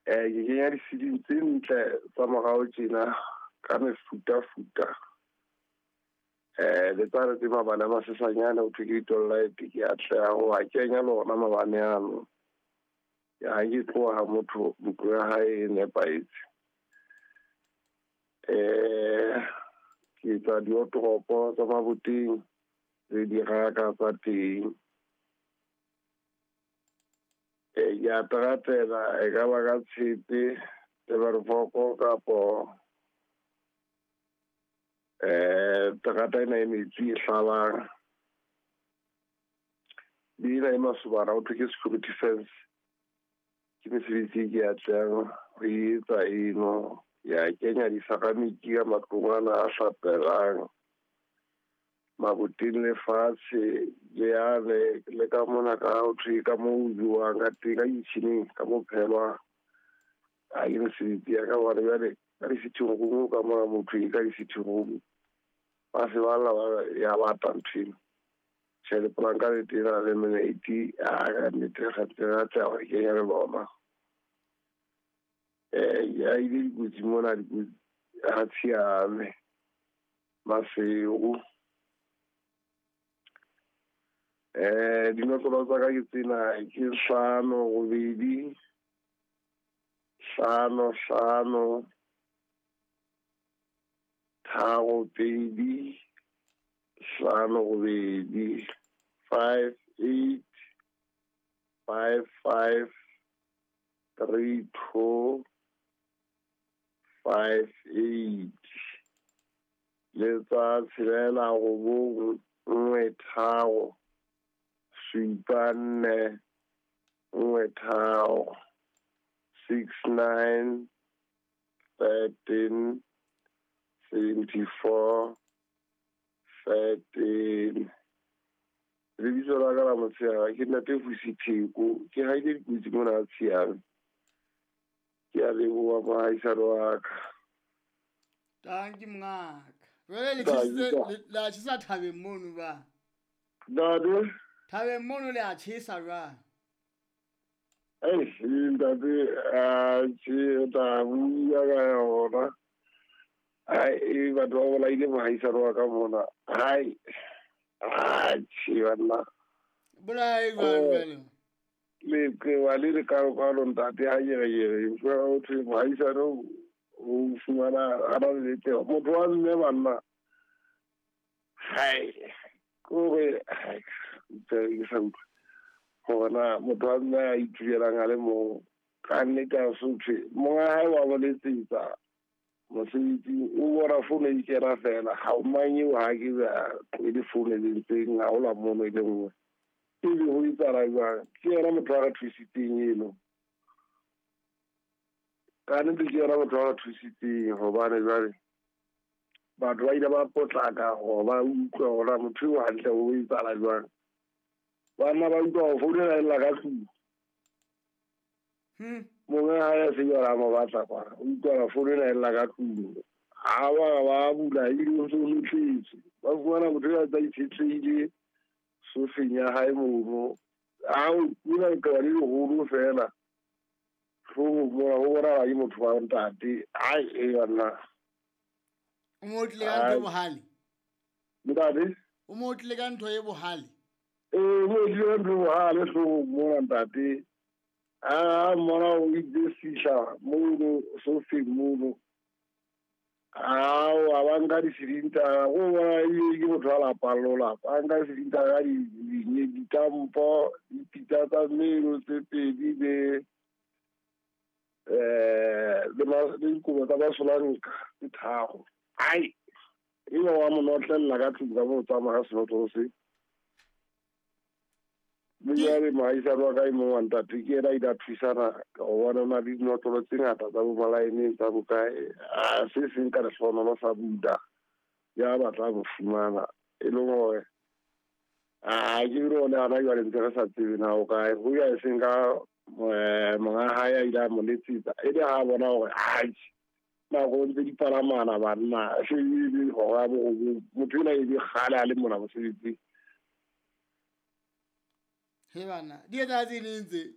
Ke kenya di-ceiling tse ntle tsa morao tjena ka mefutafuta. Le tsane tse mabane a masesanyane ho thwe ke di-light, ke atleha ho a kenya le ona mabane ano. Ha ke tloha motho ntlo ya hae e nepahetse. Ke etsa diotoropo tsa maboteng le diraka tsa teng. Ke a teratela e ka ba ka tshepe le kapo terata ena e metsi e hlabang. Le ena e masobana ho thwe ke security fence. Ke mesebetsi e ke atlehang ho etsa eno. Ya kenya di-ceramic ka matlong ana a hlapelang, maboteng le fatshe le yane le ka mona ka ho thwe ka moo ho jowang ka teng ka kitchen-eng ka mo phehelwang. A ke mesebetsi ya ka hobane jwale ka di-sitting room ka mona motho e ka di-sitting room ba se ba lla ba ya bata ntho eno. Tjhe, lepolanka le tena le laminate a ka nnete re ntse re atleha ho kenya le lona. Ya ile dikotsi mona dikotsi ha tshiame Maseru. Dinotlolo tsa ka ke tsena ke 5 8 5 5 3 2 5 8 5 8 5 5 3 2 5 8 le tsa 6 9 1 3 7 4 1 3 6 9 13 74 13. Lebitso la ka la motshehare ke Ntate Vusi Theko, ke haile dikotsi mona tshiame. Ke a leboha mohaisane wa ka. Tanki mongaka. Jwale le a tjhesa thabeng mono ba. Ntate? Thabeng mono le a tjhesa jwang? Ntate, a tjhe tla bua ka yona. Ai, batho ba bolaile mohaisane wa ka mona. Hai. A tjhe banna. Bolai jwang jwale? Leqewa le lekalokalo ntate ha nyereyere ho thwe mohaisane o fumana a na le leqewa. Motho wa mme banna. Hai. Kore hai ke sa utlwe. Hore na motho wa mme a itulelang a le mong ka nnete a se thwe monga hae wa mo letsetsa mosebetsing o bona fono e kena fela ha o mang eo ha ke ba tlohele fono e lentseng ha hola mono e le nngwe. Ebe ho etsahala jwang? Ke yena motho a re thusitseng eno. Ka nnete ke yena motho a re thusitseng hobane jwale batho ba ile ba potlaka hore ba utlwe hore motho eo hantle o etsahala jwang. Banna ba utlwa ho founela e lla ka tlung. Monga hae a se jwale a mo batla kwana. O utlwa founela e lla ka tlung. Ha ba bula ebile o ntso o notletswe. Ba fumana motho eo a tsa itshetlehile sofeng ya hae mono. A o kula leqeba le leholo fela. Hloohong mona ho bonahala ke motho wa ntate. Ai e banna. O mo otlile ka ntho e bohale? Ntate? O mo otlile ka ntho e bohale? Ee, mo otlile ka ntho e bohale hloohong mona ntate. A mmona o itse sihla mono sofeng mono. Ao a ba nka di-cylinder go bona ebile ke motho a lapang le ho lapa. A nka di-cylinder ka ditampo, dipitsa tsa mmelo tse pedi le dikobo tsa masolanka tse 3. Ai, ebe wa mo notlella ka tlung ka moo tsamaya ka senotlolo se. Le jwale mohaisane wa ka e mong wa ntate ke yena a ile a thusana ho bona o na le dinotlolo tse ngata tsa bo malaeneng tsa bokae. A se seng ka lehlohonolo sa buda ya batla mo fumana e leng hore a ke bile hona hana jwale ntse re sa tsebe na o kae. Ho ya e seng ka monga hae a ile a mo letsetsa e le ha bona hore atjhe nako ntse di palamana banna se e le hora ya borobong motho ena e be kgale a le mona mosebetsing. He bana, di etsahala tse neng tse?